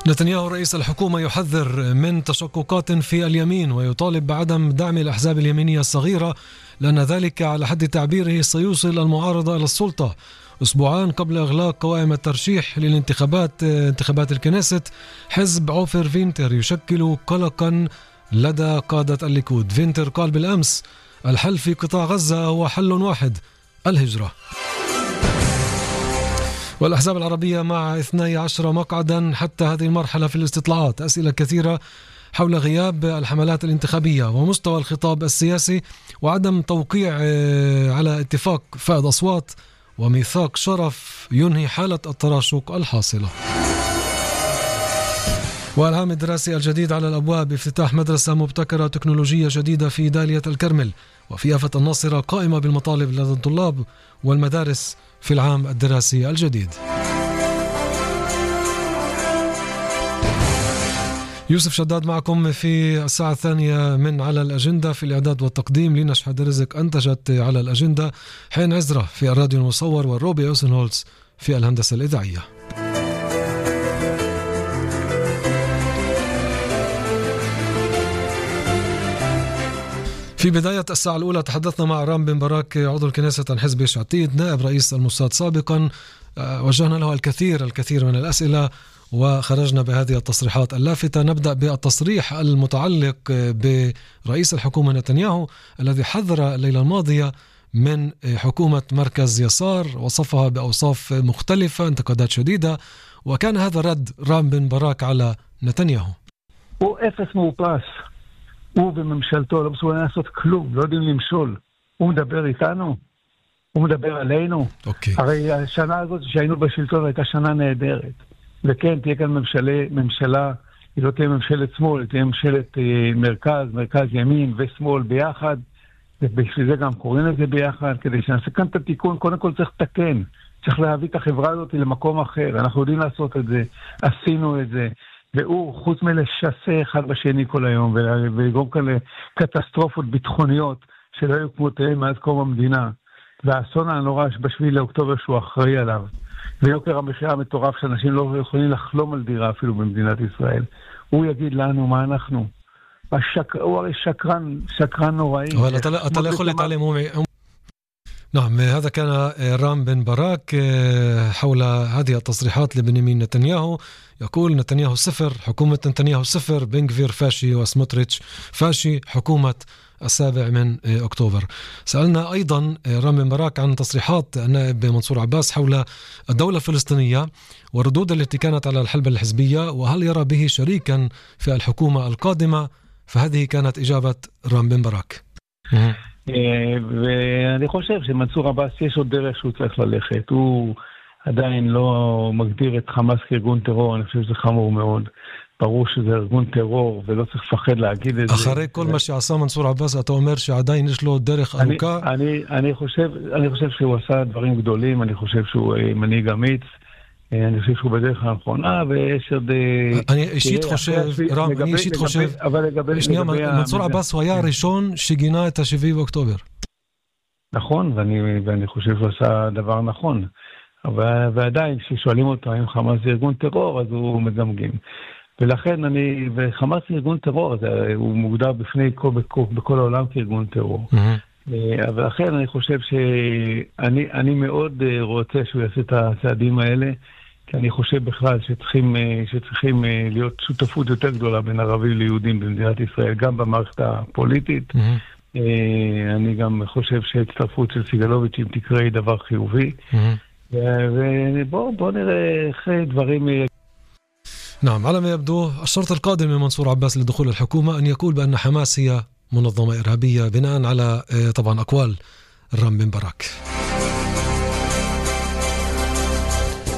نتنياهو رئيس الحكومة يحذر من تشققات في اليمين ويطالب بعدم دعم الأحزاب اليمينية الصغيرة لأن ذلك على حد تعبيره سيوصل المعارضة إلى السلطة. أسبوعان قبل إغلاق قوائم الترشيح للانتخابات انتخابات الكنيست، حزب عوفر فينتر يشكل قلقا لدى قادة الليكود. فينتر قال بالأمس الحل في قطاع غزة هو حل واحد: الهجرة. والأحزاب العربية مع 12 مقعدا حتى هذه المرحلة في الاستطلاعات. أسئلة كثيرة حول غياب الحملات الانتخابية ومستوى الخطاب السياسي وعدم توقيع على اتفاق فائض أصوات وميثاق شرف ينهي حالة التراشق الحاصلة. والعام الدراسي الجديد على الأبواب، افتتاح مدرسة مبتكرة تكنولوجية جديدة في دالية الكرمل، وفي يافا الناصرة قائمة بالمطالب لدى الطلاب والمدارس في العام الدراسي الجديد. يوسف شداد معكم في الساعة الثانية من على الأجندة. في الإعداد والتقديم لينا شحاد رزق أنتجت على الأجندة، حين عزرة في الراديو المصور، والروبي أوسنهولز في الهندسة الإذاعية. في بداية الساعة الأولى تحدثنا مع رام بن براك عضو الكنيسة عن حزب يش عتيد نائب رئيس الموساد سابقا. وجهنا له الكثير من الأسئلة وخرجنا بهذه التصريحات اللافتة. نبدأ بالتصريح المتعلق برئيس الحكومة نتنياهو الذي حذر الليلة الماضية من حكومة مركز يسار، وصفها بأوصاف مختلفة، انتقادات شديدة، وكان هذا رد رام بن براك على נתניהו. הוא אפס מאופס. הוא בממשלתו לא מסוגלים לעשות כלום, לא יודעים למשול. הוא מדבר איתנו, הוא מדבר עלינו. הרי השנה הזאת שהיינו בשלטון הייתה שנה נהדרת. וכן, תהיה כאן ממשלה, היא לא תהיה ממשלת שמאל, היא תהיה ממשלת מרכז ימין ושמאל ביחד. ובשביל זה גם קוראים את זה ביחד, כדי שנעשה כאן את התיקון. קודם כל צריך לתקן, צריך להביא את החברה הזאת למקום אחר. אנחנו יודעים לעשות את זה, עשינו את זה. והוא, חוץ מלשסה אחד בשני כל היום, ולגרום כאן לקטסטרופות ביטחוניות שלא היו כמותיהם מאז קום המדינה, והאסון הנורא בשביל לאוקטובר שהוא אחראי עליו, ויוקר המחיה המטורף שאנשים לא יכולים לחלום על דירה אפילו במדינת ישראל, הוא יגיד לנו מה אנחנו. הוא הרי שקרן נוראי. אבל אתה לא יכול להתעלם. نعم، هذا كان رام بن براك حول هذه التصريحات لبنيامين نتنياهو. يقول نتنياهو صفر، حكومة نتنياهو صفر، بن غفير فاشي وسموتريتش فاشي، حكومة 7 أكتوبر. سألنا أيضا رام بن براك عن تصريحات النائب منصور عباس حول الدولة الفلسطينية والردود التي كانت على الحلبة الحزبية، وهل يرى به شريكا في الحكومة القادمة؟ فهذه كانت إجابة رام بن براك. ואני חושב שמנסור עבאס יש עוד דרך שהוא צריך ללכת. הוא עדיין לא מגדיר את חמאס כארגון טרור, אני חושב שזה חמור מאוד. ברור שזה ארגון טרור ולא צריך לפחד להגיד את זה. אחרי כל מה שעשה מנסור עבאס, אתה אומר שעדיין יש לו דרך ארוכה? אני חושב שהוא עשה דברים גדולים, אני חושב שהוא מנהיג אמיץ, אני חושב שהוא בדרך הנכונה, ויש עוד... אני אישית חושב, שנייה, מנסור עבאס הוא היה הראשון שגינה את 7 באוקטובר. נכון, ואני חושב שהוא עשה דבר נכון. ועדיין, כששואלים אותו האם חמאס זה ארגון טרור, אז הוא מגמגם. ולכן וחמאס זה ארגון טרור, הוא מוגדר בפני בכל העולם כארגון טרור. ולכן אני חושב שאני מאוד רוצה שהוא יעשה את הצעדים האלה, כי אני חושב בכלל שצריכים להיות שותפות יותר גדולה בין ערבים ליהודים במדינת ישראל, גם במערכת הפוליטית. אני גם חושב שהצטרפות של סיגלוביץ' אם תקרה היא דבר חיובי. ובואו נראה איך דברים... نعم، على ما يبدو الشرط القادم من منصور عباس لدخول الحكومة أن يقول بأن حماس هي منظمة إرهابية بناء على طبعا أقوال رام بن براك.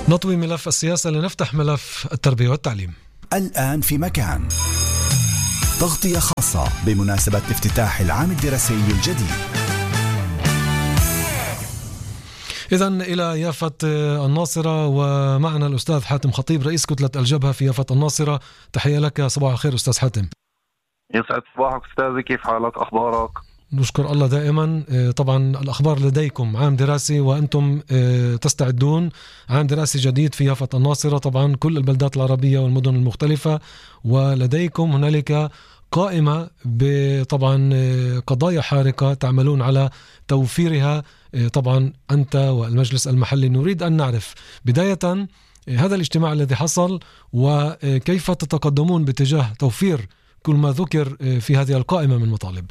نطوي ملف السياسة لنفتح ملف التربية والتعليم. الآن في مكان تغطية خاصة بمناسبة افتتاح العام الدراسي الجديد. إذن إلى يافا الناصرة، ومعنا الأستاذ حاتم خطيب رئيس كتلة الجبهة في يافا الناصرة. تحية لك، صباح الخير أستاذ حاتم. يسعد صباحك أستاذي، كيف حالك؟ أخبارك؟ نشكر الله دائما. طبعا الأخبار لديكم عام دراسي وأنتم تستعدون عام دراسي جديد في يافا الناصرة، طبعا كل البلدات العربية والمدن المختلفة، ولديكم هنالك قائمة بطبعا قضايا حارقة تعملون على توفيرها. طبعا أنت والمجلس المحلي نريد أن نعرف بداية هذا الاجتماع الذي حصل وكيف تتقدمون باتجاه توفير كل ما ذكر في هذه القائمة من مطالب.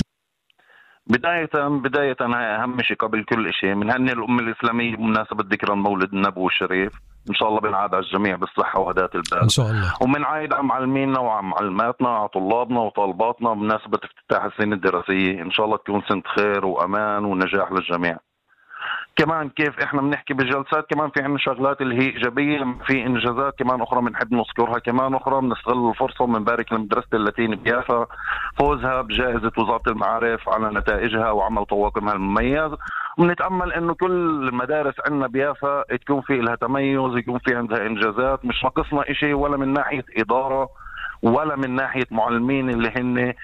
بداية أهم شيء قبل كل شيء بنهني الأمة الإسلامية بمناسبة ذكرى المولد النبوي الشريف، إن شاء الله بنعاد على الجميع بالصحة وهداة البال إن شاء الله. وبنعايد على معلمينا وعلى معلماتنا وعلى طلابنا وطالباتنا بمناسبة افتتاح السنة الدراسية، إن شاء الله تكون سنة خير وأمان ونجاح للجميع. كمان كيف احنا بنحكي بالجلسات كمان في عنا شغلات اللي هي ايجابيه، في انجازات كمان اخرى بنحب نذكرها، كمان اخرى بنستغل الفرصه وبنبارك لمدرسه اللاتيني بيافا فوزها بجائزه وزاره المعارف على نتائجها وعمل طواقمها المميز، وبنتامل انه كل المدارس عندنا بيافا تكون في لها تميز، يكون في عندها انجازات، مش ناقصنا شيء ولا من ناحيه اداره ولا من ناحيه معلمين اللي هن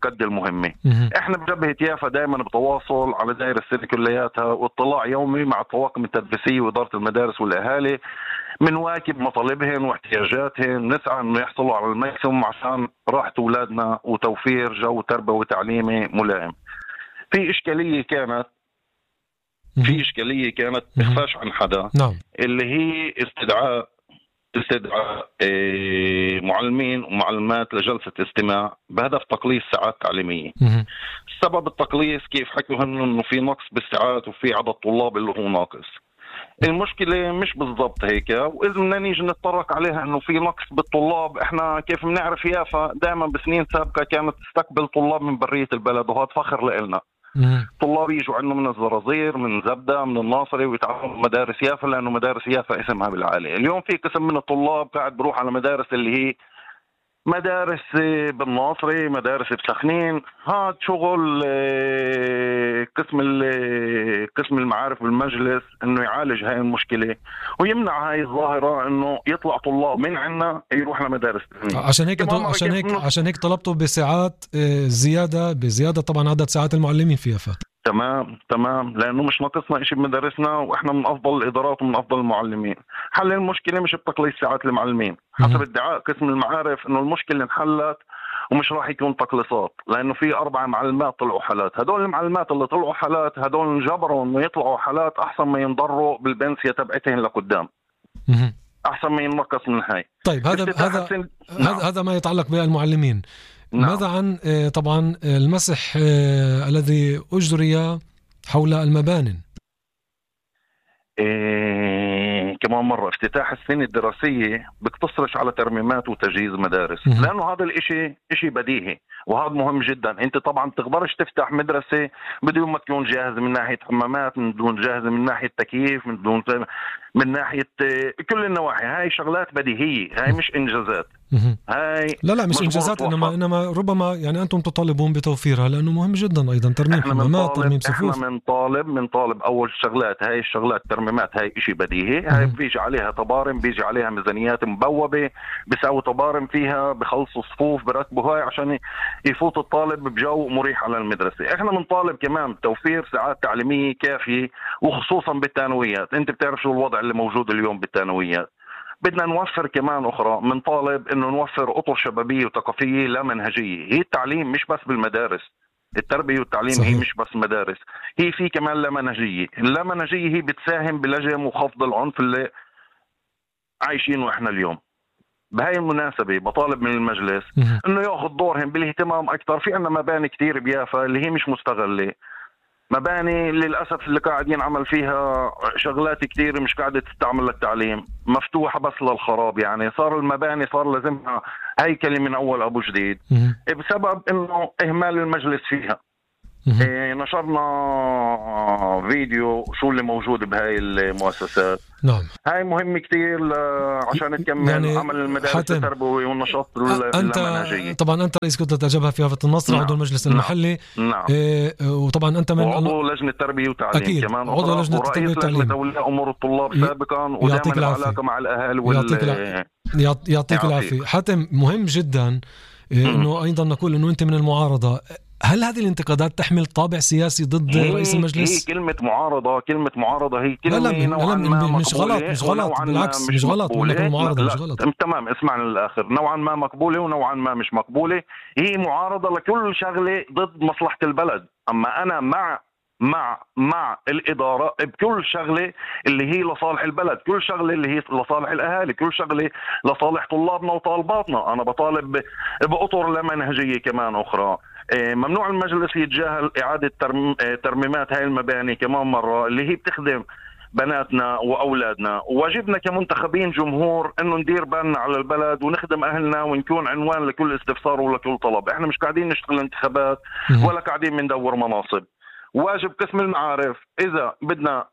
قد المهمة. احنا بجبهة يافا دائما بتواصل على دائرة السنة كلياتها واطلاع يومي مع الطواقم التدريسية وإدارة المدارس والأهالي، منواكب مطالبهم واحتياجاتهم، نسعى انه يحصلوا على الماكسيموم عشان راحة أولادنا وتوفير جو تربوي وتعليمي ملائم. في إشكالية كانت تخفاش عن حدا، اللي هي استدعاء معلمين ومعلمات لجلسة استماع بهدف تقليص ساعات تعليمية. سبب التقليص كيف حكوا انه في نقص بالساعات وفي عدد طلاب اللي هو ناقص. المشكلة مش بالضبط هيك، وإذا بدنا نيجي نتطرق عليها انه في نقص بالطلاب، احنا كيف بنعرف يافا دائما بسنين سابقة كانت تستقبل طلاب من برية البلد، وهذا فخر لنا. طلاب يجوا عندنا من الزرازير، من زبدة، من الناصري، ويتعلموا مدارس يافا لأنه مدارس يافا اسمها بالعالي. اليوم في قسم من الطلاب قاعد بروح على مدارس اللي هي مدارس بالناصري، مدارس بسخنين. هذا شغل قسم المعارف بالمجلس انه يعالج هاي المشكلة ويمنع هاي الظاهرة انه يطلع طلاب من عنا يروح لمدارس ثانية. عشان هيك طلبتوا بساعات بزيادة طبعا عدد ساعات المعلمين في يافا. تمام لانه مش ناقصنا اشي بمدارسنا، واحنا من افضل الادارات ومن افضل المعلمين. حل المشكله مش بتقليص ساعات المعلمين حسب ادعاء قسم المعارف، انه المشكله انحلت ومش راح يكون تقليصات، لانه في 4 معلمات طلعوا حالات. هدول المعلمات اللي طلعوا حالات هدول انجبروا انه يطلعوا حالات احسن ما ينضروا بالبنسيه تبعتهم لقدام، احسن ما ينقص من هاي. طيب هذا ما يتعلق بالمعلمين. ماذا عن طبعا المسح الذي أجري حول المبانٍ؟ كمان مرة افتتاح السنة الدراسية بيقتصرش على ترميمات وتجهيز مدارس، لأنه هذا الاشي اشي بديهي وهذا مهم جدا. انت طبعا تقدرش تفتح مدرسة بدون ما تكون جاهز من ناحية حمامات، من دون جاهز من ناحية تكييف، من ناحية كل النواحي. هاي شغلات بديهية، هاي مش انجازات. هاي لا مش انجازات، انما ربما يعني انتم تطالبون بتوفيرها لانه مهم جدا ايضا ترميم حمامات، ترميم صفوف. احنا بنطالب اول شغلات، هاي الشغلات ترميمات هاي اشي بديهي. هاي بيجي عليها طبارم، بيجي عليها ميزانيات مبوبة، بيساوي طبارم فيها، بخلصوا صفوف، برتبوا هاي عشان يفوت الطالب بجو مريح على المدرسة. احنا بنطالب كمان بتوفير ساعات تعليمية كافية، وخصوصا بالثانويات. انت بتعرف شو الوضع اللي موجود اليوم بالثانويات. بدنا نوفر كمان أخرى، من طالب إنه نوفر أطر شبابية وثقافية لا منهجية. هي التعليم مش بس بالمدارس، التربية والتعليم صحيح. هي مش بس مدارس، هي في كمان لا منهجية. اللا منهجية هي بتساهم بلجم وخفض العنف اللي عايشينه إحنا اليوم. بهاي المناسبة بطالب من المجلس إنه يأخذ دورهم بالاهتمام أكثر. في عنا مباني كتير بيافا اللي هي مش مستغلة، مباني للأسف اللي قاعدين عمل فيها شغلات كتير مش قاعدة تستعمل للتعليم، مفتوحة بس للخراب. يعني صار المباني صار لازمها هيكلة من أول أبو جديد بسبب إنه إهمال المجلس فيها. نشرنا فيديو شو اللي موجود بهاي المؤسسات. نعم. هاي مهم كتير عشان نكمل يعني عمل المدارس التربوي والنشاط المنهجي. طبعا أنت رئيس كتلة الجبهة في يافا النصر، عضو المجلس المحلي. نعم. وطبعا أنت من عضو لجنة التربية والتعليم. أكيد. كمان عضو لجنة التربية والتعليم وأولياء أمور الطلاب سابقا، ودائما العلاقة مع الأهل يعطيك العافية. حاتم، مهم جدا إنه أيضا نقول إنه أنت من المعارضة. هل هذه الانتقادات تحمل طابع سياسي ضد رئيس المجلس؟ هي كلمة معارضة هي كلمة لا مش غلط بالعكس مش غلط معارضة مش غلط. تمام، اسمعنا للآخر. نوعا ما مقبولة ونوعا ما مش مقبولة. هي معارضة لكل شغلة ضد مصلحة البلد. أما أنا مع الإدارة بكل شغلة اللي هي لصالح البلد، كل شغلة اللي هي لصالح الأهالي، كل شغلة لصالح طلابنا وطالباتنا. أنا بطالب بأطر لا منهجية كمان أخرى. ممنوع المجلس يتجاهل إعادة ترميمات هاي المباني كمان مرة اللي هي بتخدم بناتنا وأولادنا. واجبنا كمنتخبين جمهور أنه ندير بالنا على البلد ونخدم أهلنا ونكون عنوان لكل استفسار ولكل طلب. إحنا مش قاعدين نشتغل انتخابات ولا قاعدين ندور مناصب. واجب قسم المعارف إذا بدنا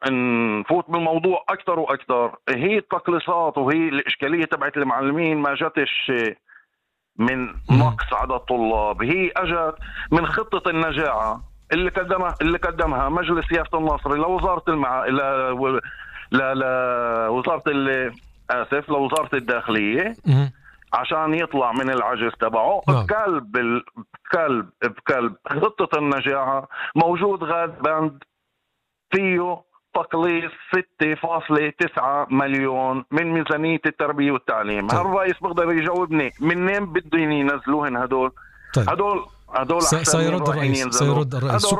نفوت بالموضوع أكثر وأكثر. هي التقليصات وهي الإشكالية تبعت المعلمين ما جاتش من نقص عدد طلاب، هي أجت من خطة النجاعة اللي قدمها مجلس يافت الناصري لوزارة لوزارة الداخلية عشان يطلع من العجز تبعه. بكلب خطة النجاعة موجود غاد بند فيه تقليص 6.9 مليون من ميزانية التربية والتعليم. هل الرئيس بقدر يجاوبني منين بدهم ينزلوهن هدول؟ طيب. هدول سيرد الرئيس هدول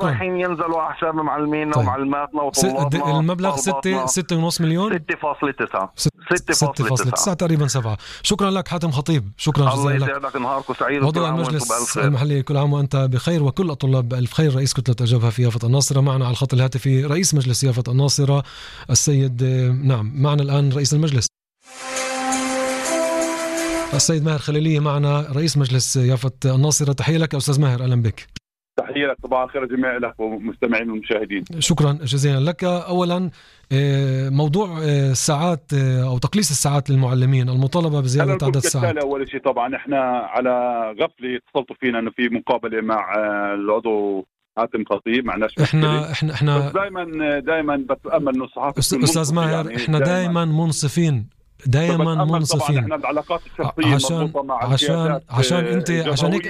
رايحين ينزلوا على حساب معلمينا ومعلماتنا وطلابنا. المبلغ 6.5 مليون 6.9 تقريبا 7. شكرا لك حاتم خطيب، شكرا جزيلا لك. الله يسعدك، نهاركم سعيد. عضو المجلس المحلي، كل عام وأنت بخير وكل الطلاب بألف خير. رئيس كتلة الجبهة في يافت الناصرة معنا على الخط الهاتفي رئيس مجلس يافت الناصرة السيد معنا الآن رئيس المجلس السيد ماهر خليلية معنا رئيس مجلس يافت الناصرة. تحية لك أستاذ ماهر، أهلا بك. تحية لك، صباح الخير جميع لك ومستمعين والمشاهدين. شكرا جزيلا لك. أولا موضوع الساعات أو تقليص الساعات للمعلمين، المطالبة بزيادة عدد الساعات. أول شيء طبعا إحنا على غفلة اتصلتوا فينا إنه في مقابلة مع العضو حاتم خطيب، معناش احنا دائما بتأمل إنه الصحافة أستاذ ماهر يعني احنا دائما منصفين احنا العلاقات الشخصيه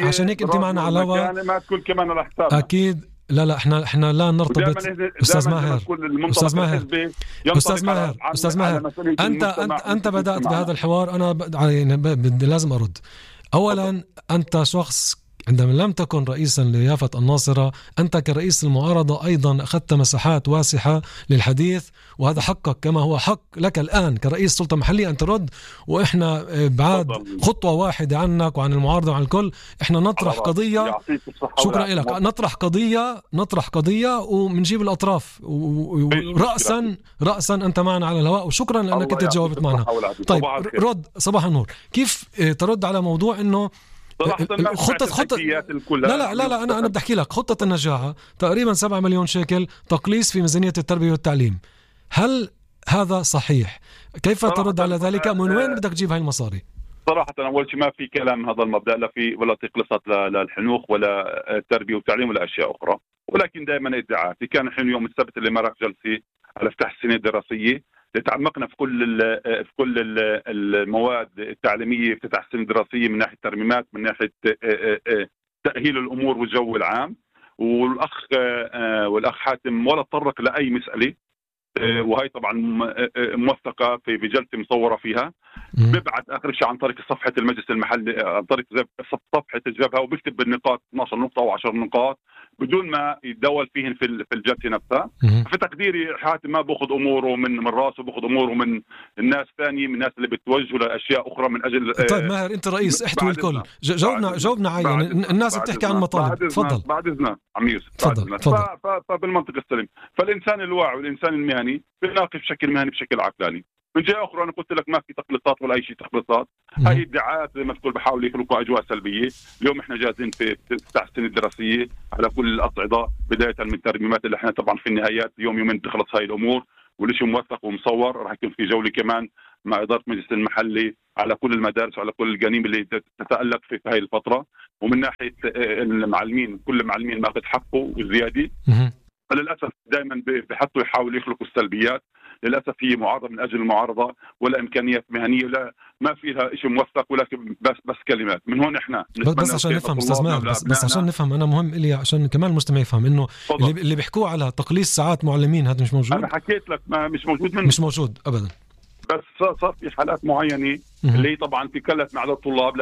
عشان هيك انت معنا على الهواء ما تكون كمان على حساب اكيد. لا احنا لا نرتبط. استاذ ماهر انت بدأت بهذا الحوار، انا لازم ارد. اولا انت شخص عندما لم تكن رئيسا ليافت الناصرة، أنت كرئيس المعارضة أيضا أخذت مساحات واسعة للحديث، وهذا حقك كما هو حق لك الآن كرئيس سلطة محلية أن ترد. وإحنا بعد خطوة واحدة عنك وعن المعارضة وعن الكل، إحنا نطرح قضية. شكرا لك. نطرح قضية ومنجيب الأطراف رأسا أنت معنا على الهواء، وشكرا لأنك أنت جاوبت معنا. طيب رد صباح النور. كيف ترد على موضوع إنه خطة لا أنا بدي أحكي لك خطة النجاعة تقريبا 7 مليون شيكل تقليص في ميزانية التربية والتعليم، هل هذا صحيح؟ كيف ترد على ذلك؟ من وين بدك تجيب هاي المصاري؟ صراحة أول شيء ما في كلام هذا المبدأ، لا في ولا تقلصات للحنوخ ولا التربية والتعليم ولا أشياء أخرى، ولكن دائما ادعاءات. كان الحين يوم السبت اللي مرق جلسة على افتتاح السنة الدراسية، تعمقنا في كل المواد التعليميه، افتتاح السنه الدراسيه من ناحيه الترميمات، من ناحيه تاهيل الامور والجو العام. والاخ حاتم ولا تطرق لاي مساله، وهي طبعا موثقه في جلسه مصوره فيها. ببعث اخر شيء عن طريق صفحه المجلس المحلي، عن طريق صفحه الجبهه، وبكتب بالنقاط 12 نقطه او 10 نقاط بدون ما يتداول فيهن في الجلسه نفسها. في تقديري حاتم ما باخذ اموره من راسه، باخذ اموره من الناس ثانيه، من الناس اللي بتوجهوا لاشياء اخرى من اجل. طيب ماهر انت رئيس احتوي الكل، جاوبنا عين الناس بتحكي عن مطالب. تفضل. بعد اذنك عمير. تفضل. فبالمنطق السليم، فالانسان الواعي والانسان المهني بيناقش بشكل مهني بشكل عقلاني. من جهه اخرى انا قلت لك ما في تقليصات ولا اي شيء تقليصات، هاي ادعاءات زي ما تقول بحاولوا يخلقوا اجواء سلبيه. اليوم احنا جاهزين في افتتاح السنه الدراسيه على كل الاصعده، بدايه من الترميمات اللي احنا طبعا في النهايات يومين تخلص هاي الامور، والشيء موثق ومصور. راح يكون في جوله كمان مع اداره مجلس المحلي على كل المدارس وعلى كل الجنين اللي تتالق في هاي الفتره. ومن ناحيه المعلمين، كل المعلمين ماخذ حقه وزياده. فللاسف دائما بحطوا يحاولوا يخلقوا السلبيات. للأسف هي معارضة من أجل المعارضة، ولا إمكانيات مهنية، ولا ما فيها شيء موثق، ولكن بس كلمات. من هون إحنا بس عشان نفهم أستاذ ماهر، بس عشان نفهم، أنا مهم إلي عشان كمان المستمع يفهم إنه اللي بيحكوا على تقليص ساعات معلمين هذا مش موجود. أنا حكيت لك ما مش موجود منه. مش موجود أبدا. بس صار في حالات معينة اللي طبعا في كلت مع الطلاب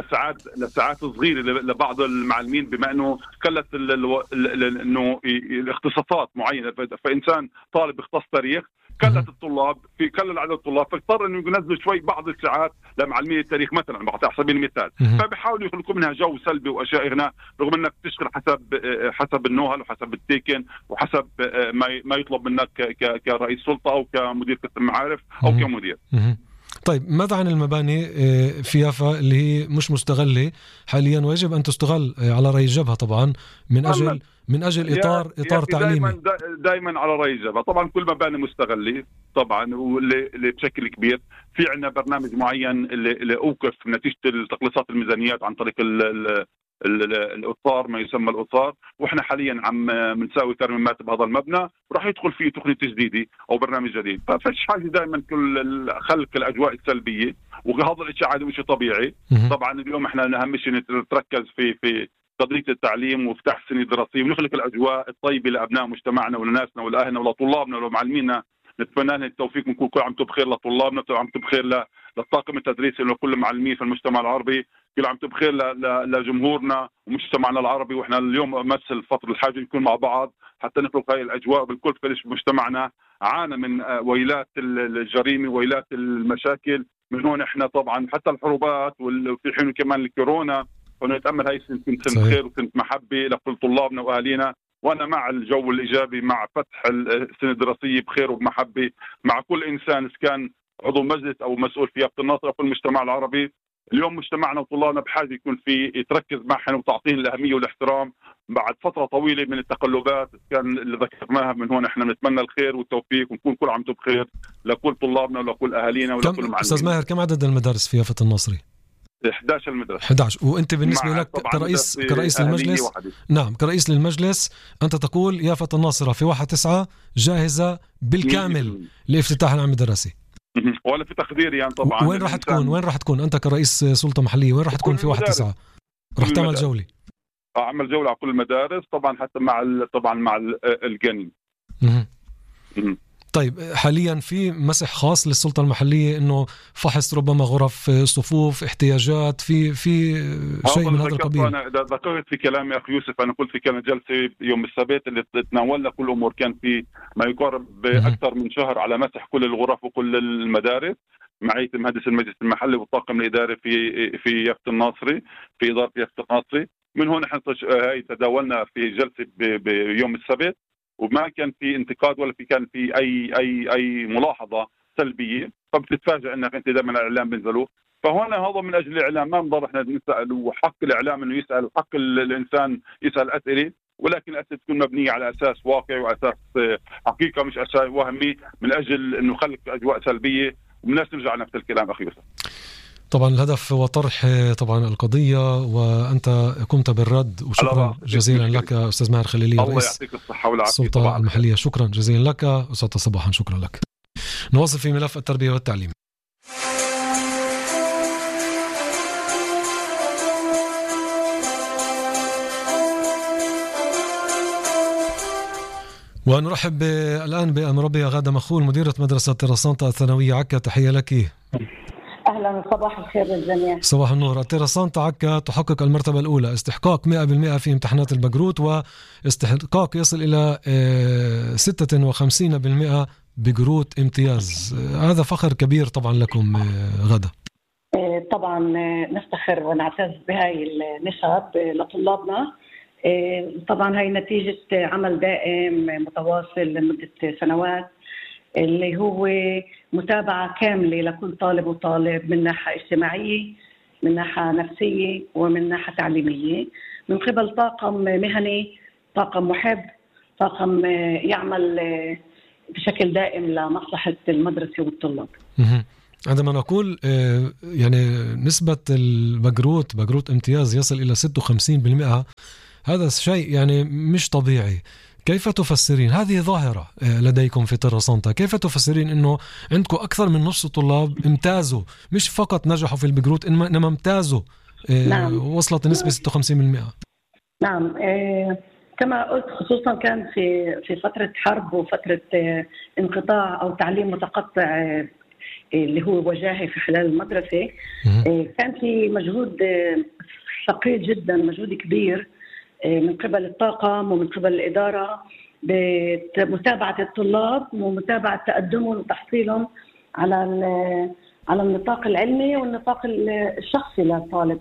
لساعات صغيرة لبعض المعلمين، بما انه كلت انه الاختصاصات معينة. فإنسان طالب اختص تاريخ كلت الطلاب كلل عدد الطلاب، فاضطر انه ينزلوا شوي بعض الساعات لمعلمين التاريخ مثلا على سبيل المثال. فبيحاولوا يخلقوا منها جو سلبي واشياء هنا، رغم انك تشتغل حسب النوهل وحسب التيكن وحسب ما يطلب منك كرئيس سلطة او كمدير قسم معارف او كمدير. طيب ماذا عن المباني في يافا اللي هي مش مستغلة حاليا ويجب أن تستغل على رأي الجبهة طبعا من أجل إطار تعليمي؟ دائما على رأي الجبهة طبعا كل مباني مستغلة طبعا، واللي بشكل كبير في عندنا برنامج معين اللي أوقف نتيجة تقليصات الميزانيات عن طريق الأطار، ما يسمى الأطار، وإحنا حاليا عم بنساوي ترميمات بهذا المبنى وراح يدخل فيه تقنية تجديدي أو برنامج جديد. ففيش حاجة دائما كل خلق الأجواء السلبية، وهذا الشيء عادي وشيء طبيعي. طبعا اليوم إحنا أهم شيء نتركز في قضية التعليم وفتح السنة الدراسية ونخلق الأجواء الطيبة لأبناء مجتمعنا ولناسنا ولأهلنا ولطلابنا ولمعلمينا. نتمنى لهم التوفيق، ونكون كل عام بخير لطلابنا، كل عام بخير للطاقم التدريسي ولكل المعلمين في المجتمع العربي، كل عام بخير لجمهورنا ومجتمعنا العربي. واحنا اليوم مثل فترة الحاجة نكون مع بعض حتى نخلق هاي الأجواء بالكل. فليش مجتمعنا عانى من ويلات الجريمة ويلات المشاكل، من هون احنا طبعا حتى الحروبات وفي حين كمان الكورونا، ونتأمل هاي سنة خير وسنة محبة لكل طلابنا وأهالينا. وأنا مع الجو الإيجابي، مع فتح السنة الدراسية بخير وبمحبة مع كل إنسان، إذا كان عضو مجلس أو مسؤول في يافا الناصر أو في المجتمع العربي. اليوم مجتمعنا وطلابنا بحاجة يكون في يتركز معهم وتعطيهم الأهمية والاحترام بعد فترة طويلة من التقلبات كان اللي ذكرناها. من هون احنا نتمنى الخير والتوفيق، ونكون كل عام بخير لكل طلابنا ولكل أهالينا ولكل معلمين. أستاذ ماهر، كم عدد المدارس في يافا الناصري؟ 11 المدرسة. 11. وانت بالنسبه لك كرئيس المجلس، نعم كرئيس للمجلس، انت تقول يافا الناصرة في 1/9 جاهزة بالكامل لافتتاح العام الدراسي؟ ولا في تقدير يعني طبعا. وين راح تكون انت كرئيس سلطة محلية؟ وين راح تكون في 1/9؟ راح تعمل جولة؟ اعمل جولة على كل المدارس طبعا، حتى مع الجنين. طيب حاليا في مسح خاص للسلطة المحلية انه فحص ربما غرف صفوف احتياجات في شيء من هذا القبيل؟ انا ذكرت في كلامي اخي يوسف، انا قلت في كان جلسة يوم السبت اللي تناولنا كل الامور، كان في ما يقارب اكثر من شهر على مسح كل الغرف وكل المدارس معية مهندس المجلس المحلي والطاقم الاداري في يافا الناصري، في ادارة يافا الناصري. من هون احنا هاي تداولنا في جلسة بيوم السبت، وما كان في انتقاد ولا كان في اي ملاحظه سلبيه. فبتتفاجئ انك انت دائما الاعلام بينزلوا. فهنا هذا من اجل الاعلام، ما بنضل احنا نسال، وحق الاعلام انه يسال، حق الانسان يسال اسئله، ولكن الاسئله تكون مبنيه على اساس واقعي واساس حقيقه، مش اساس وهمي من اجل انه خلق اجواء سلبيه والناس ترجع نفس الكلام. اخي يوسف، طبعا الهدف هو طرح طبعا القضية، وأنت قمت بالرد، وشكرا جزيلا لك أستاذ ماهر خليلي، الله يعطيك الصحة والعافية السلطة المحلية. شكرا جزيلا لك أستاذ صباحا، شكرا لك. نواصل في ملف التربية والتعليم. ونرحب الآن بأمربية غادة مخول، مديرة مدرسة تيراسانتا الثانوية عكا. تحية لك. أهلا، صباح الخير للجميع. صباح النور. تيراسانتا عكا تحقق المرتبة الأولى، استحقاق 100% في امتحانات البقروت، واستحقاق يصل إلى 56% بقروت امتياز. هذا فخر كبير طبعا لكم غدا. طبعا نفتخر ونعتز بهاي النسب لطلابنا. طبعا هاي نتيجة عمل دائم متواصل لمدة سنوات، اللي هو متابعة كاملة لكل طالب وطالب من ناحية اجتماعية، من ناحية نفسية، ومن ناحية تعليمية، من قبل طاقم مهني، طاقم محب، طاقم يعمل بشكل دائم لمصلحة المدرسة والطلاب. عندما نقول يعني نسبة بقروت امتياز يصل إلى 56%، هذا شيء يعني مش طبيعي. كيف تفسرين هذه ظاهرة لديكم في تيراسانتا؟ كيف تفسرين أنه عندكم أكثر من نص الطلاب امتازوا، مش فقط نجحوا في البقروت إنما امتازوا؟ نعم. وصلت النسبة 56%. نعم. كما قلت، خصوصا كان في فترة حرب وفترة انقطاع أو تعليم متقطع اللي هو وجاهي في خلال المدرسة. كان في مجهود ثقيل جدا، مجهود كبير من قبل الطاقم ومن قبل الإدارة بمتابعة الطلاب ومتابعة تقدمهم وتحصيلهم على النطاق العلمي والنطاق الشخصي للطالب.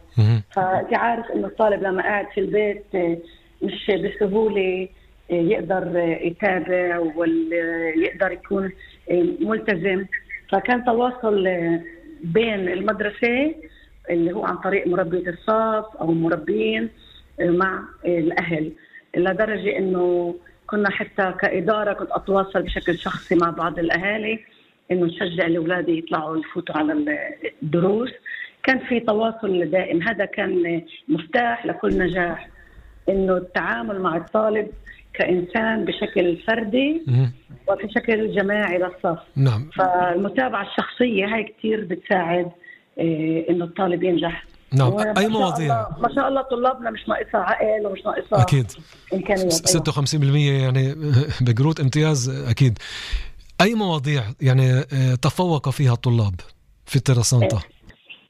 فأنت عارف إنه الطالب لما قاعد في البيت مش بسهولة يقدر يتابع ويقدر يكون ملتزم. فكان تواصل بين المدرسة اللي هو عن طريق مربية الصف أو المربين مع الأهل، لدرجة إنه كنا حتى كإدارة كنت أتواصل بشكل شخصي مع بعض الأهالي إنه نشجع الأولاد يطلعوا يفوتوا على الدروس. كان في تواصل دائم، هذا كان مفتاح لكل نجاح، إنه التعامل مع الطالب كإنسان بشكل فردي وفي شكل جماعي للصف. نعم. فالمتابعة الشخصية هاي كتير بتساعد إنه الطالب ينجح. نعم. أي مواضيع؟ ما شاء الله طلابنا مش ناقصها عقل ومش ناقصها أكيد إمكانيات. 56% يعني بقروت امتياز أكيد. أي مواضيع يعني تفوق فيها الطلاب في تيراسانتا؟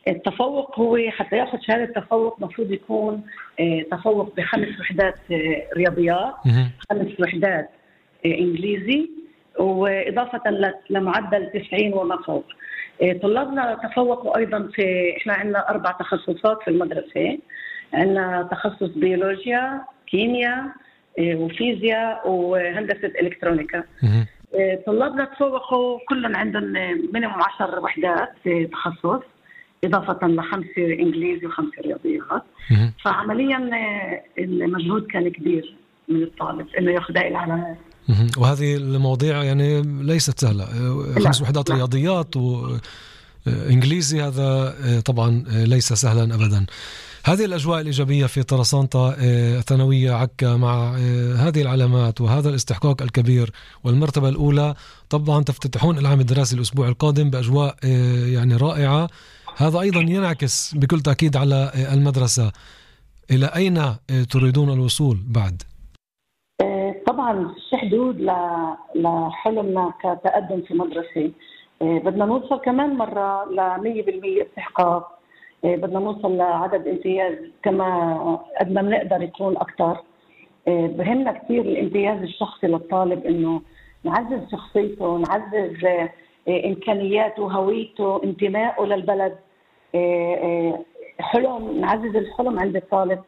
التفوق هو حتى ياخذ شهادة التفوق مفروض يكون تفوق ب5 وحدات رياضيات، 5 وحدات إنجليزي، وإضافة لمعدل 90 وما فوق. طلابنا تفوقوا أيضا إحنا عندنا 4 تخصصات في المدرسة. عندنا تخصص بيولوجيا، كيمياء، وفيزياء، وهندسة إلكترونيكا. طلابنا تفوقوا كلهم عندهم مينيموم 10 وحدات تخصص، إضافة ل5 إنجليزي و5 رياضيات. فعمليا المجهود كان كبير من الطالب إنه يأخذ هاي العلامات. وهذه المواضيع يعني ليست سهلة. 5 وحدات رياضيات وإنجليزي، هذا طبعا ليس سهلا أبدا. هذه الأجواء الإيجابية في تيراسانتا ثانوية عكا مع هذه العلامات وهذا الاستحقاق الكبير والمرتبة الأولى، طبعا تفتتحون العام الدراسي الأسبوع القادم بأجواء يعني رائعة. هذا أيضا ينعكس بكل تأكيد على المدرسة. إلى أين تريدون الوصول بعد؟ طبعا في حدود لحلمنا كتقدم في مدرسة. بدنا نوصل كمان مرة ل100% استحقاق. بدنا نوصل لعدد امتياز كما قد ما بنقدر يكون أكتر. بهمنا كثير الامتياز الشخصي للطالب، إنه نعزز شخصيته، نعزز إمكانياته، هويته، انتمائه للبلد. حلم، نعزز الحلم عند الطالب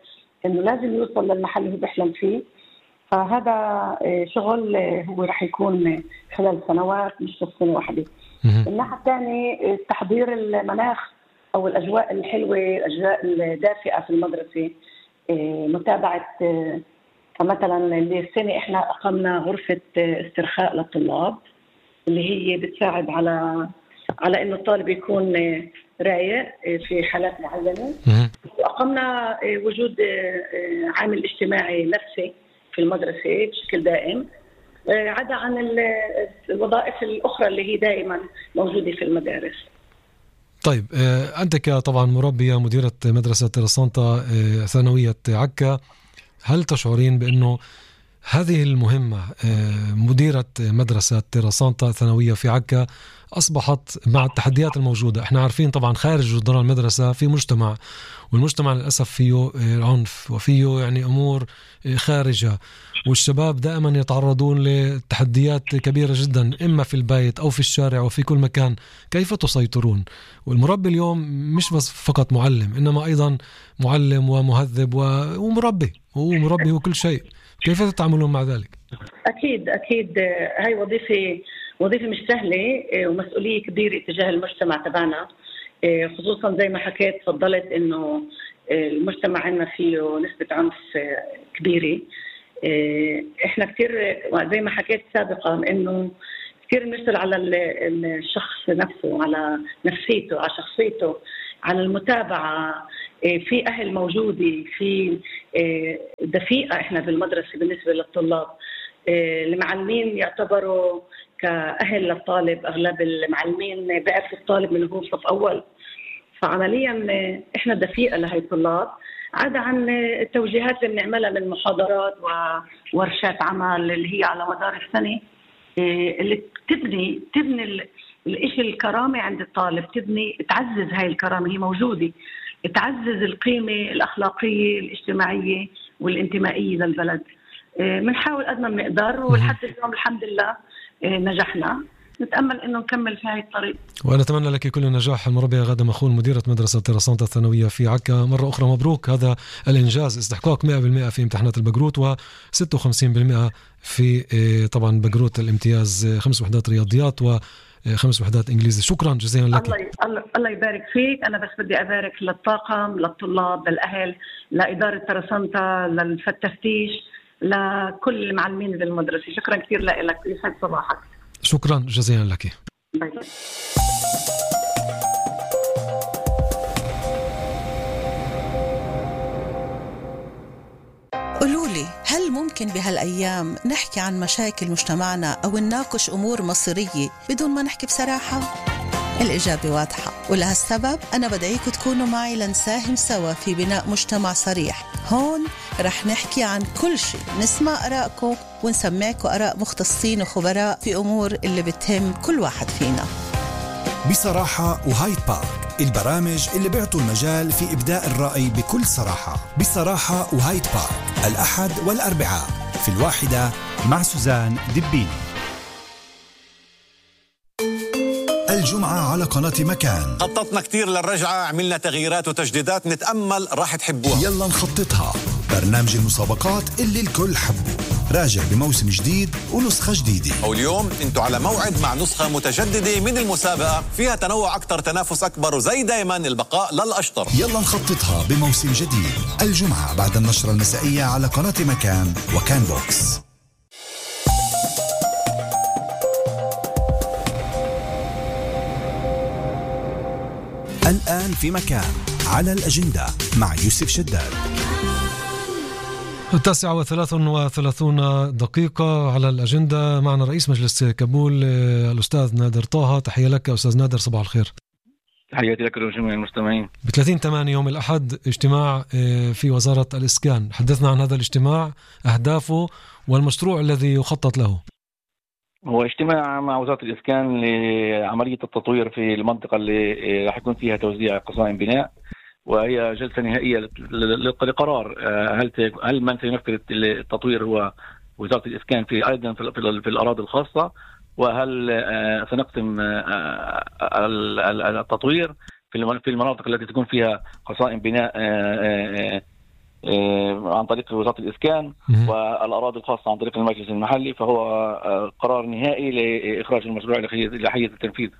إنه لازم يوصل للمحل اللي هو بيحلم فيه. فهذا شغل هو رح يكون خلال سنوات، مش بس سنة واحدة. الناحية الثانية تحضير المناخ أو الأجواء الحلوة، الأجواء الدافئة في المدرسة. متابعة مثلا اللي السنة إحنا أقمنا غرفة استرخاء للطلاب اللي هي بتساعد على إنه الطالب يكون رايق في حالات معينة. وأقمنا وجود عامل اجتماعي نفسي في المدرسة بشكل دائم، عدا عن الوظائف الأخرى اللي هي دائما موجودة في المدارس. طيب، أنت طبعا مربية مديرة مدرسة تيراسانتا ثانوية عكا، هل تشعرين بأنه هذه المهمة مديرة مدرسة تيراسانتا ثانوية في عكا أصبحت مع التحديات الموجودة؟ احنا عارفين طبعا خارج جدران المدرسة في مجتمع، والمجتمع للأسف فيه عنف وفيه يعني أمور خارجة، والشباب دائما يتعرضون لتحديات كبيرة جدا إما في البيت أو في الشارع وفي كل مكان. كيف تسيطرون؟ والمربي اليوم مش بس فقط معلم، إنما أيضا معلم ومهذب ومربي، هو مربي وكل شيء. كيف تتعاملون مع ذلك؟ أكيد هاي وظيفة مش سهلة ومسؤولية كبيرة تجاه المجتمع تبعنا، خصوصا زي ما حكيت تفضلت إنه المجتمع عندنا فيه نسبة عنف كبيرة. إحنا كتير زي ما حكيت سابقا إنه كتير نشتغل على الشخص نفسه، على نفسيته، على شخصيته، على المتابعة. في أهل موجودة، في دفيئة إحنا بالمدرسة بالنسبة للطلاب. المعلمين يعتبروا كأهل للطالب، أغلب المعلمين بيعرفوا الطالب من هو صف أول، فعمليا إحنا دفيئة لهي الطلاب، عدا عن التوجيهات اللي بنعملها من محاضرات وورشات عمل اللي هي على مدار السنة، اللي تبني الإشي الكرامة عند الطالب، تعزز هاي الكرامة، هي موجودة، تعزز القيمة الأخلاقية الاجتماعية والانتمائية للبلد. بنحاول قد ما بنقدر، ولحد اليوم الحمد لله نجحنا، نتأمل إنه نكمل في هاي الطريق. وأنا أتمنى لك كل النجاح. المربية غادة مخول، مديرة مدرسة تيراسانتا الثانوية في عكا، مرة أخرى مبروك هذا الإنجاز، استحقاق 100% في امتحانات البقروت و56% في طبعا بقروت الامتياز، 5 وحدات رياضيات و5 وحدات إنجليزي. شكرا جزيلا لك. الله يبارك فيك. أنا بس بدي أبارك للطاقم، للطلاب، للأهل، لإدارة تيراسانتا، للتفتيش، لكل المعلمين بالمدرسة. شكرا كثير لك، يسعد صباحك. شكرا جزيلا لك. باي باي. قولولي، هل ممكن بهالأيام نحكي عن مشاكل مجتمعنا أو نناقش أمور مصيرية بدون ما نحكي بصراحة؟ الإجابة واضحة، ولهالسبب أنا بدعيكم تكونوا معي لنساهم سوا في بناء مجتمع صريح. هون رح نحكي عن كل شيء، نسمع آراءكم ونسمعكم آراء مختصين وخبراء في أمور اللي بتهم كل واحد فينا. بصراحة وهايد بارك، البرامج اللي بيعطوا المجال في إبداء الرأي بكل صراحة. بصراحة وهايد بارك، الأحد والأربعاء في 1 مع سوزان دبيني. الجمعة على قناة مكان. خططنا كتير للرجعة، عملنا تغييرات وتجديدات، نتأمل راح تحبوها. يلا نخططها، برنامج المسابقات اللي الكل حبه، راجع بموسم جديد ونسخة جديدة. واليوم انتوا على موعد مع نسخة متجددة من المسابقة، فيها تنوع أكتر، تنافس أكبر، وزي دايما البقاء للأشطر. يلا نخططها بموسم جديد، الجمعة بعد النشرة المسائية على قناة مكان وكان بوكس. الآن في مكان على الأجندة مع يوسف شداد. 9:33 على الأجندة. معنا رئيس مجلس كابول الأستاذ نادر طه. تحية لك أستاذ نادر، صباح الخير. تحياتي لك وجميع المستمعين. ب30/8 يوم الأحد اجتماع في وزارة الإسكان، حدثنا عن هذا الاجتماع، أهدافه والمشروع الذي يخطط له. هو اجتماع مع وزارة الإسكان لعملية التطوير في المنطقة اللي راح يكون فيها توزيع قصائم بناء، وهي جلسة نهائية لقرار هل من سينفذ التطوير هو وزارة الإسكان في أيضا في الأراضي الخاصة، وهل سنقسم التطوير في المناطق التي تكون فيها قصائم بناء عن طريق وزارة الإسكان، والأراضي الخاصة عن طريق المجلس المحلي. فهو قرار نهائي لإخراج المشروع إلى حيز التنفيذ.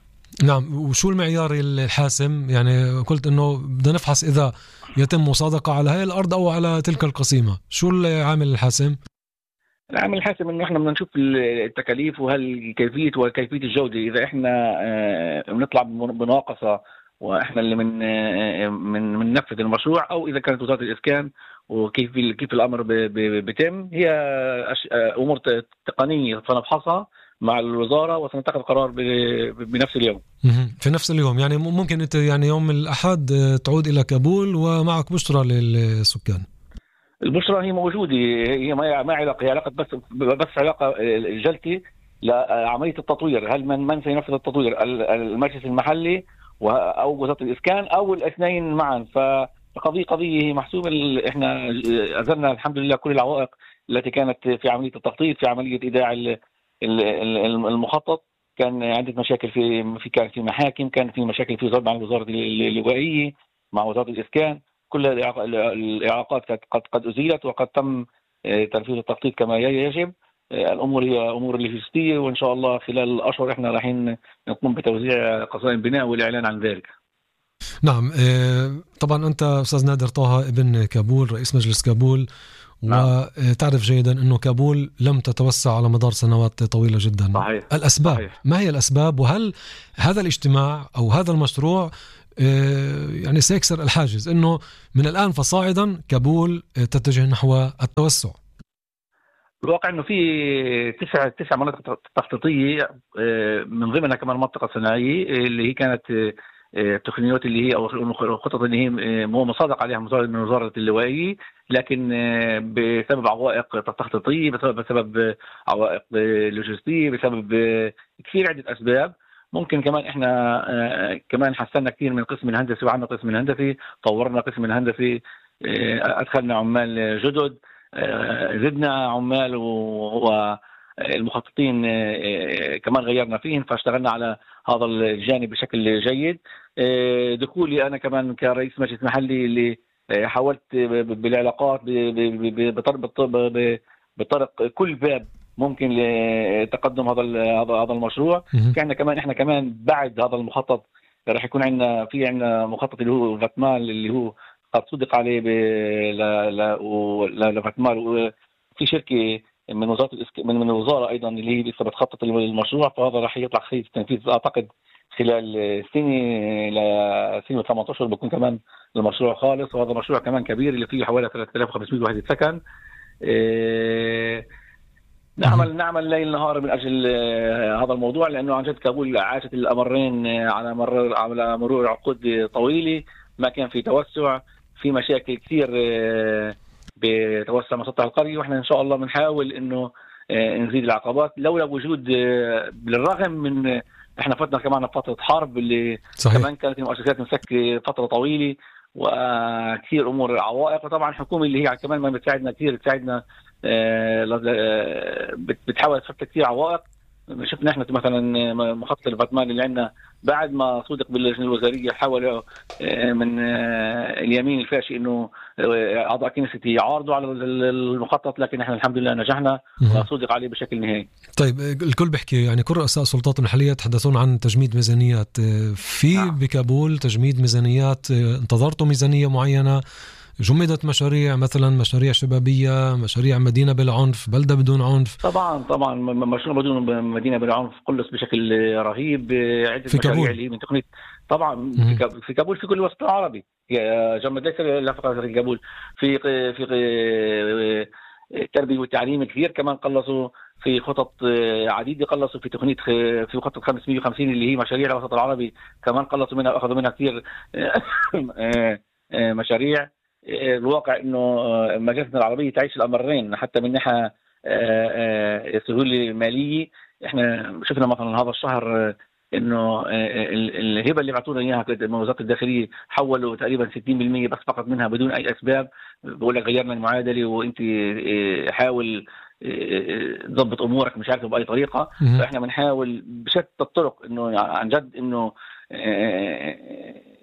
نعم. وشو المعيار الحاسم؟ يعني قلت إنه بدنا نفحص إذا يتم مصادقة على هاي الأرض أو على تلك القسيمة. شو العامل الحاسم؟ العامل الحاسم إنه إحنا بدنا نشوف التكاليف وهل كيفية الجودة. إذا إحنا بنطلع بناقصة واحنا اللي من نفذ المشروع، او اذا كانت وزارة الاسكان وكيف الامر بيتم، هي امور تقنيه سنفحصها مع الوزاره وسنتخذ قرار بنفس اليوم. في نفس اليوم، يعني ممكن انت يعني يوم الاحد تعود الى كابول ومعك بشرى للسكان. البشرى هي موجوده، هي ما علاقه، هي علاقه بس علاقه جلتي لعمليه التطوير. هل من سينفذ التطوير، المجلس المحلي أو وزارة الإسكان أو الاثنين معا؟ فقضية محسوبة. إحنا أزلنا الحمد لله كل العوائق التي كانت في عملية التخطيط، في عملية إيداع المخطط. كان عندنا مشاكل كان في محاكم، كان في مشاكل في ضرب عن الوزارة اللوائية مع وزارة الإسكان. كل الإعاقات قد أزيلت وقد تم تنفيذ التخطيط كما يجب. الأمور هي أمور لوجستية، وإن شاء الله خلال الأشهر إحنا رايحين نقوم بتوزيع قصائم بناء والإعلان عن ذلك. نعم. طبعا أنت أستاذ نادر طه ابن كابول، رئيس مجلس كابول، وتعرف جيدا أنه كابول لم تتوسع على مدار سنوات طويلة جدا. صحيح. الأسباب صحيح. ما هي الأسباب؟ وهل هذا الاجتماع أو هذا المشروع يعني سيكسر الحاجز أنه من الآن فصاعدا كابول تتجه نحو التوسع؟ الواقع انه في تسع مناطق تخطيطيه، من ضمنها كمان منطقه صناعيه اللي هي كانت التقنيات اللي هي او الخطط اللي هي مو مصادق عليها من وزاره اللوائيه، لكن بسبب عوائق تخطيطيه، بسبب عوائق لوجستيه، بسبب كثير عده اسباب. ممكن كمان احنا كمان حسنا كثير من القسم الهندسي، وعندنا قسم الهندسي، طورنا قسم الهندسي، ادخلنا عمال جدد، زدنا عمال، والمخططين كمان غيرنا فيهم، فاشتغلنا على هذا الجانب بشكل جيد. دخولي انا كمان كرئيس مجلس محلي اللي حاولت بالعلاقات بطرق كل باب ممكن لتقدم هذا المشروع. احنا كمان بعد هذا المخطط راح يكون عندنا مخطط اللي هو فاتمال، اللي هو قد صدق عليه لفاتمال، وفي شركه من الوزاره ايضا اللي هي لسه بتخطط المشروع، فهذا راح يطلع خلال التنفيذ اعتقد خلال سنه 8 اشهر بكون كمان المشروع خالص. وهذا مشروع كمان كبير اللي فيه حوالي 3500 وحده سكن. نعمل ليل نهار من اجل هذا الموضوع، لانه عن جد كابول عاشت الامرين على مرور عقود طويله، ما كان في توسع، في مشاكل كثير بتوسع مسطح القريه، واحنا ان شاء الله بنحاول انه نزيد العقبات. لولا وجود بالرغم من احنا فتنا كمان فتره حرب اللي صحيح. كمان كانت المؤسسات مسكره فتره طويله وكثير امور عوائق، وطبعا الحكومه اللي هي كمان ما بتساعدنا كثير، بتساعدنا بتحاول تفك كثير عوائق. شفنا احنا مثلا مخطط الفاتمان اللي عندنا بعد ما صدق باللجنه الوزاريه، حاولوا من اليمين الفاشي انه اعضاء كنيستي يعارضوا على المخطط، لكن احنا الحمد لله نجحنا وصدق عليه بشكل نهائي. طيب الكل بيحكي يعني كل رؤساء السلطات المحليه يتحدثون عن تجميد ميزانيات في بكابول، تجميد ميزانيات، انتظرتوا ميزانيه معينه؟ جمدت مشاريع مثلا مشاريع شبابية، مشاريع مدينة بلا عنف، بلدة بدون عنف؟ طبعا مشروع بدون مدينة بلا عنف قلص بشكل رهيب. عدة في مشاريع كابول اللي من تقنية طبعا في كابول، في كل الوسط العربي جمد، ليس لا فقط في كابول، في التربية والتعليم كثير كمان قلصوا، في خطط عديدة قلصوا، في تقنية في خطة 550 اللي هي مشاريع الوسط العربي كمان قلصوا منها، أخذوا منها كثير مشاريع. الواقع انه مجالسنا العربيه تعيش الامرين، حتى من ناحيه سهوله ماليه. احنا شفنا مثلا هذا الشهر انه الهبه اللي بعثونا اياها من وزاره الداخليه حولوا تقريبا 60% بس فقط منها بدون اي اسباب، بقول لك غيرنا المعادله وانت حاول تضبط امورك مش عارف باي طريقه. فاحنا بنحاول بشتى الطرق انه عن جد انه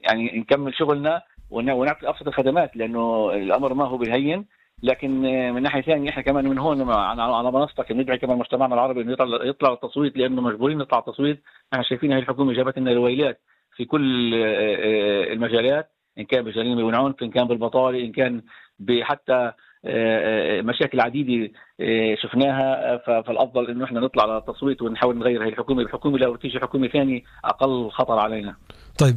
يعني نكمل شغلنا ونعطي ابسط الخدمات، لانه الامر ما هو بالهين. لكن من ناحيه ثانيه احنا كمان من هون على منصتك ندعي كمان مجتمعنا العربي انه يطلع التصويت، لانه مجبورين نطلع التصويت. احنا شايفين هاي الحكومه جابت لنا رويلات في كل المجالات، ان كان بالجريمه والعنف، ان كان بالبطاله، ان كان حتى مشاكل عديده شفناها. فالافضل انه احنا نطلع على التصويت ونحاول نغير هاي الحكومه لو تيجي حكومه ثانيه اقل خطر علينا. طيب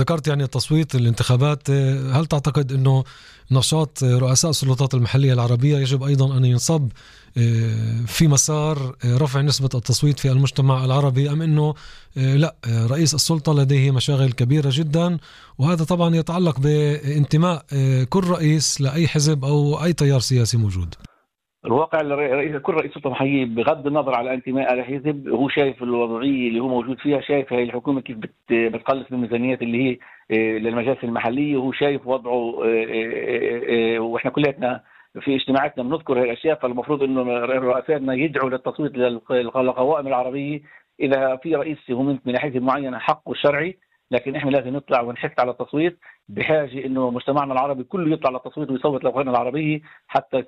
ذكرت يعني التصويت، الانتخابات، هل تعتقد انه نشاط رؤساء السلطات المحليه العربيه يجب ايضا ان ينصب في مسار رفع نسبه التصويت في المجتمع العربي، ام انه لا، رئيس السلطه لديه مشاغل كبيره جدا، وهذا طبعا يتعلق بانتماء كل رئيس لاي حزب او اي تيار سياسي موجود؟ الواقع كل رئيس سلطه محليه بغض النظر على انتماء لحزب هو شايف الوضعيه اللي هو موجود فيها، شايف هاي الحكومه كيف بتقلص الميزانيات اللي هي للمجالس المحليه، وهو شايف وضعه. واحنا كلنا في اجتماعاتنا بنذكر هاي الاشياء. فالمفروض انه رؤسائنا يدعوا للتصويت للقوائم العربيه اذا في رئيس هو من حزب معين حقه الشرعي، لكن احنا لازم نطلع ونحث على التصويت. بحاجه انه مجتمعنا العربي كله يطلع للتصويت ويصوت للقوائم العربيه حتى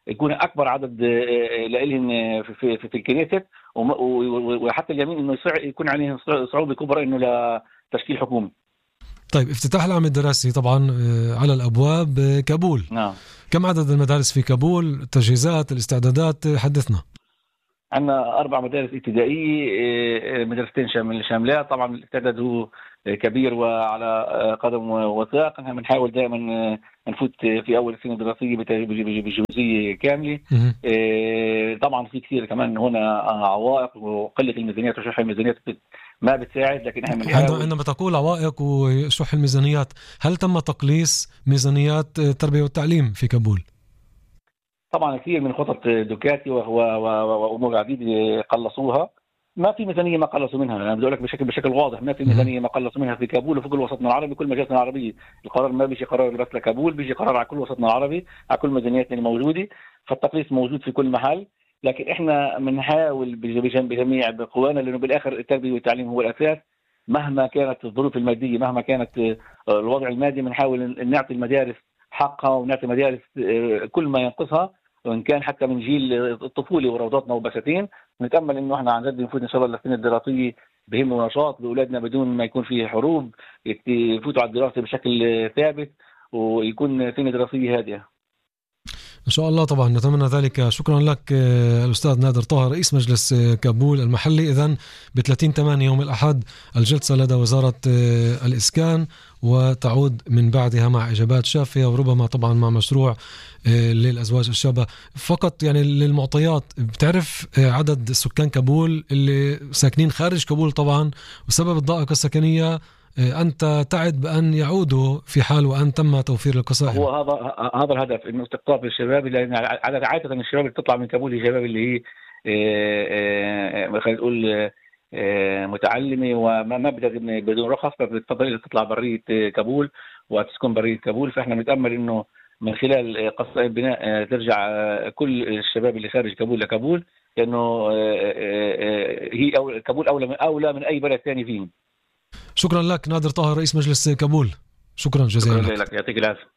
يكون اكبر عدد لهم في الكنيسة، وحتى اليمين انه يكون عليهم صعوبه كبرى انه لتشكيل حكومه. طيب افتتاح العام الدراسي طبعا على الابواب كابول. نعم. كم عدد المدارس في كابول؟ التجهيزات، الاستعدادات، حدثنا. عندنا 4 مدارس ابتدائيه، مدرستين شاملات. طبعا الاستعداد هو كبير وعلى قدم وساق. نحن بنحاول دائما نفوت في اول سنه دراسيه بجزئيه كامله. طبعا في كثير كمان هنا عوائق، وقله الميزانيات وشح الميزانيات ما بتساعد، لكن احنا بنحاول. عندما تقول عوائق وشح الميزانيات، هل تم تقليص ميزانيات التربيه والتعليم في كابول؟ طبعا كثير من خطط دوكاتي وامور عديده قلصوها. ما في ميزانيه ما قلصوا منها، انا بدي اقول لك بشكل واضح، ما في ميزانيه ما قلصوا منها في كابول وفي كل وسطنا العربي، كل مجالسنا العربيه. القرار ما بيجي قرار بس لكابول، بيجي قرار على كل وسطنا العربي، على كل ميزانياتنا الموجوده. فالتقليص موجود في كل محل، لكن احنا بنحاول بجميع قوانا، لانه بالاخر التربيه والتعليم هو الاساس. مهما كانت الظروف الماديه، مهما كانت الوضع المادي، بنحاول نعطي المدارس حقها ونعطي المدارس كل ما ينقصها، وان كان حتى من جيل الطفوله وروضاتنا وبساتين. نتامل انه احنا عن جد نفوت ان شاء الله للسنه الدراسيه بهم ونشاط لاولادنا بدون ما يكون فيه حروب، يفوتوا على الدراسه بشكل ثابت ويكون سنه دراسيه هادئه إن شاء الله. طبعا نتمنى ذلك. شكرا لك الأستاذ نادر طه، رئيس مجلس كابول المحلي. إذن ب30/8 يوم الأحد الجلسة لدى وزارة الإسكان، وتعود من بعدها مع إجابات شافية، وربما طبعا مع مشروع للأزواج الشابة. فقط يعني للمعطيات، بتعرف عدد سكان كابول اللي ساكنين خارج كابول طبعا، وسبب الضائقة السكنية أنت تعد بأن يعودوا في حال وأن تم توفير القصائم. هو هذا الهدف، إنه استقطاب الشباب، لأن عادة الشباب اللي تطلع من كابول الشباب اللي هي خلينا نقول متعلمة وما بدون رخص، فبتفضل تطلع برية كابول وتسكن برية كابول. فإحنا بنتأمل إنه من خلال قصائم بناء ترجع كل الشباب اللي خارج كابول لكابول، لأنه هي كابول أولى من أي بلد ثاني فيهم. شكرا لك نادر طه، رئيس مجلس كابول. شكرا جزيلا لك. يعطيك العافية.